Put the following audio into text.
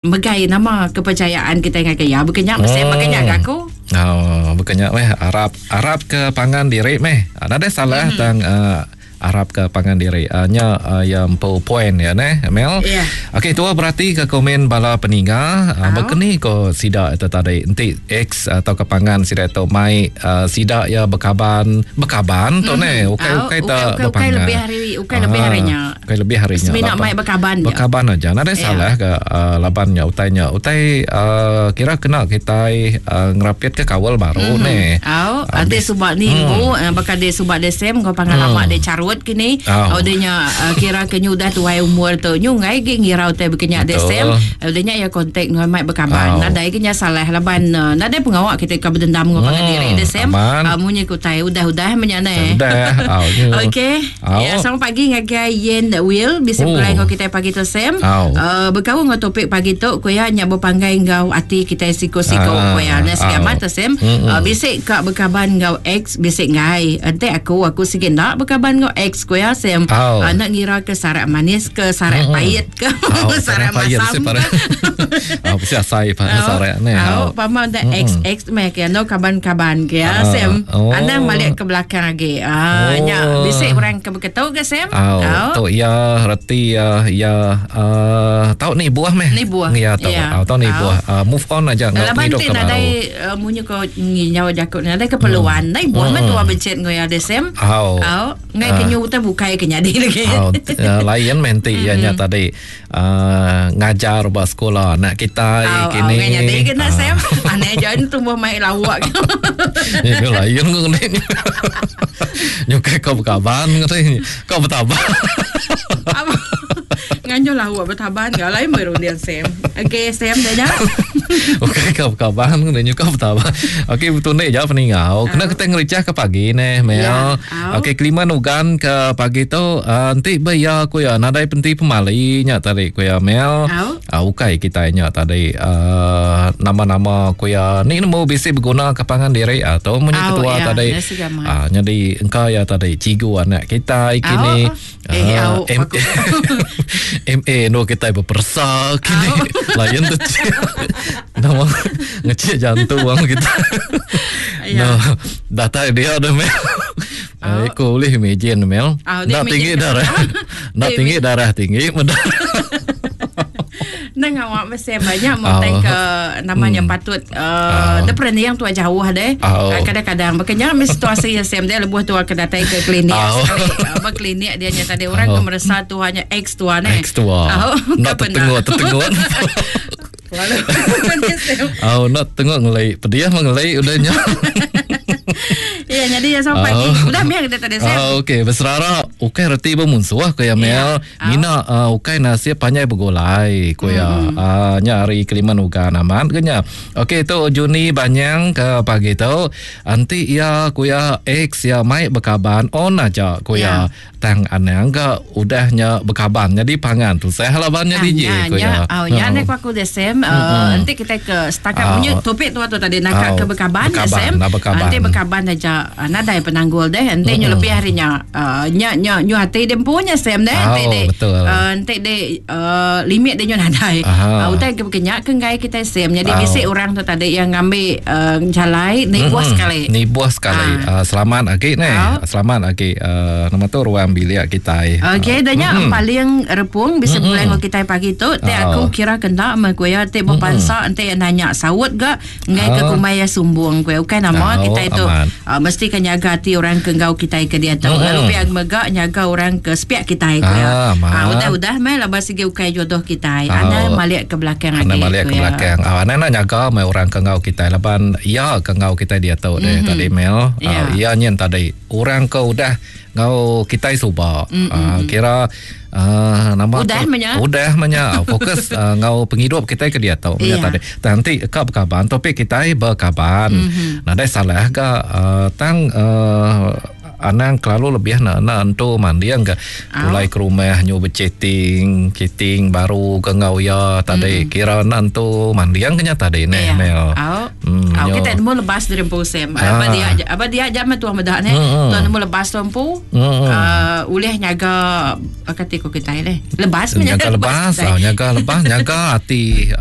Megai nama kepercayaan kitai ngagai iya baka nya mesti baka nya ga aku. Oh, baka nya meh arap arap ke pangan diri meh. Nadai salah mm-hmm. tang uh, arap ke pangan diri. Uh, nya uh, ya empu point ya neh, Mel. Yeah. Okey, tua berati ke komen bala peninga uh, baka ni ko sida itu tadi enti ex atau ke pangan sida tu mai uh, sida ya bekaban bekaban tu mm-hmm. neh ukai ukai ta ukai, ukai lebih hari ukai lebih hari nya. Ukai lebih hari nya. Semina mai bekaban je. Bekaban aja. Nadai yeah. salah ke uh, laban nya utai nya. Utai uh, kira kena kitai uh, ngerapit ke kawal baru mm-hmm. ne. Au, uh, ati suba ni mm. bu uh, baka dia suba desem kau pangan mm. lama dia carut kini. Au dia nya uh, kira ke nyu dah tuai umur tu. Nyu ngai ge ngirau tai bekenya desem. Uh, dia nya ya kontak ngau mai bekaban. Nadai ke nya salah laban uh, nadai pengawa kita ka berdendam ngau pangan mm. diri desem. Uh, munyi ku utai udah-udah menyane. Udah. Au. Okey. Ya, selamat pagi ngagai Yen Will bisi oh. begulai enggau kitai pagi tu Sam. Uh, bekaul enggau topik pagi tu ku iya nya bepanggai enggau ati kitai siku-siku ah, ku iya. Nah sigi amat tu Sam. Mm-hmm. Uh, bisi ka bekaban enggau ex bisi enggai. Enti aku aku sigi enda bekaban enggau ex ku iya Sam. Oh. Uh, nak ngira ke sarak manis ke sarak mm-hmm. pahit ke oh, sarak masam. Oh, bisi asai pa sarak ni. Oh, pama enda ex ex meh ke no kaban-kaban ke ya Sam. Oh. Anang balik ke belakang agi. Ah, oh. nya bisi orang ke beketu ke Sam? Oh, oh. Tu ya reti ya ya uh, tau ni buah meh. Ni buah. Ya tau. Yeah. Oh, tau ni oh. buah. Uh, move on aja ngau pengidup ke baru. Nadai uh, munyi ko nyawa jaku nadai keperluan. Hmm. Nai buah hmm. meh tua bencet ngau ya de Sam. Oh. Oh. Ngai uh. ke nyu utai bukai ke nyadi lagi. Oh, uh, lain meh enti ya nya hmm. tadi. Uh, ngajar ba sekolah anak kita oh, kini. Oh, nyadi kena uh. Sam. Aneh jangan tumbuh mai lawak. Ya lain kau ni. Nyukai kau berkaban kau bertaban. Nganjo lawak bertaban ke lain berunding Sam. Okey Sam dah nya. Okey kau berkaban ni nyukai bertaban. Okey betul ni jauh peningau. Kena kita ngericah ke pagi ni Mel. Ya. Okey kelima nugan ke pagi tu uh, enti be iya ku iya nadai penti pemali nya tadi ku iya Mel. Uh, ukai kitai nya tadi uh, nama-nama ku iya ni nemu bisi beguna ke pangan diri atau uh, munyi ketua ya, tadi. Uh, nyadi engka iya tadi cigu anak kitai kini. Eh, uh, M- MA no kitai bepersa kini. Lain tu. Nama ngecek jantung orang kita. Ya. No, datai dia dah mel. Oh. Aku boleh imagine mel. Oh, dia Nak tinggi imagine. darah. Nak Dia tinggi darah tinggi mendak. Nang awak mesti banyak mau Oh. ke namanya patut uh, Oh. dia pernah yang tua jauh deh. Oh. Uh, kadang-kadang makanya mi situasi yang same dia lebuh tua ke datai ke klinik Oh. sekali. Uh, berklinik dia nya tadi orang Oh. ke meresa tu hanya ex tua ne. Ex tua. Oh, Nak tertengok tertengok. Oh, nak tengok ngelai. Pediah mah ngelai udahnya. Ya, jadi ya sampai pagi. Oh. Udah miang kita tadi Sam. Ah, okey, berserara ukai reti bermunsuh ko ya Mel. Ya. Mina uh, ukai nasib panjai begulai ko ya. Hmm. Uh, nya hari kelima nuga amat ke nya. Okey tu Juni Banyang ke pagi tu. Anti ia ku ya ex ya mai bekaban on aja ku ya. Ya. Tang anang ke udahnya bekaban jadi pangan tu saya labannya DJ Ah, ku nya, ya. oh, nya nek aku desem uh, nanti kita ke setakat Ah. punya topik tu tu tadi nak Ah, ke bekaban bekaban, desem. nak bekaban. Nanti bekaban aja ah, nadai penanggul deh. Nanti nyu lebih harinya uh, nya nya nyu hati dia punya sem deh. Nanti Oh, deh betul. uh, nanti deh uh, limit dia nyu nadai. Aha. Uh, utai ke kenyak ke ngai kita sem. Jadi Ah. bisi orang tu tadi yang ngambil uh, jalai ni buah sekali. Ni buah sekali. Ah. Uh, selamat lagi ni. Ah. Selamat lagi uh, nama tu ruang bilik kita. Okey, dah nya Mm-mm. paling repung bisa mm-hmm. bulan kita pagi tu, te Ah. aku kira kena me kuya te berpansa ente yang nanya saut ga ngai ke Ah. kumai ya sumbung kuya. Bukan nama Ah, kita itu aman. uh, mesti kan nyaga hati orang ke ngau kita ke dia tu. Mm-mm. Lalu pihak mega nyaga orang ke sepiak kita kuya. Ah, aman. Ah, udah-udah mai laba sigi ukai jodoh kita. Ah. Ana malik ke belakang Ana lagi. balik ke kuya. belakang. Ah, ana nak nyaga mai orang ke ngau kita laban ya ke ngau kita dia tu mm-hmm. tadi Mel. Ya. Ah, ya nyen tadi. Orang ke udah ngau kita suba. Mm-hmm. Ah, kira ah, nama Udah tu- menya. Udah menya. Ah, Fokus ah, ngau penghidup kita ke dia tu Ya. yeah. tadi. Nanti ka berkaban topik kita berkaban. Mm-hmm. Nadai salah ke ah, tang ah, Anang kelalu lebih na na entu manding ke pulai ke rumah nyu bechatting chatting baru ke enggau iya tadi kira na entu manding ke nya tadi neh Mel. Au. Hmm, Au kita nemu lebas diri empu Sam. Aba dia aba dia aja meh tuang meda neh. Tuang nemu lebas tu empu. Uh, ulih nyaga kati ko kitai leh. Lebas meh nyaga lebas, nyaga lebas, nyaga ati.